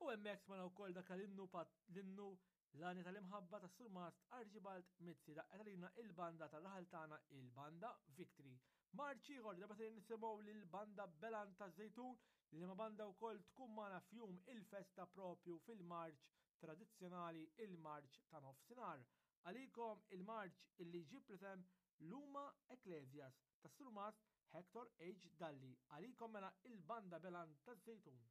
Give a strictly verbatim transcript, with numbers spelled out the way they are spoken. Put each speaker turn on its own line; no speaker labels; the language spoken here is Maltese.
U hemmhekk smajna wkoll dak l-innu l-innu l-għanja tal-imħabba ta' Surmast Archibald Mizzi daqqet għalina il-banda tar-raħal tagħna il-banda Victory. Marċ ieħor darba se nisimgħu lill-banda Belan taż-Żejtun li ma banda wkoll tkun magħna f'jum il-festa propju fil-marċ tradizzjonali il-marċ ta' nofsinhar. Għalikom il-marċ illi jġib l-isem Luma Ecclesias ta' Surmast Hector H. Dalli. Għalikom mela il-banda Belan taż-Żejtun.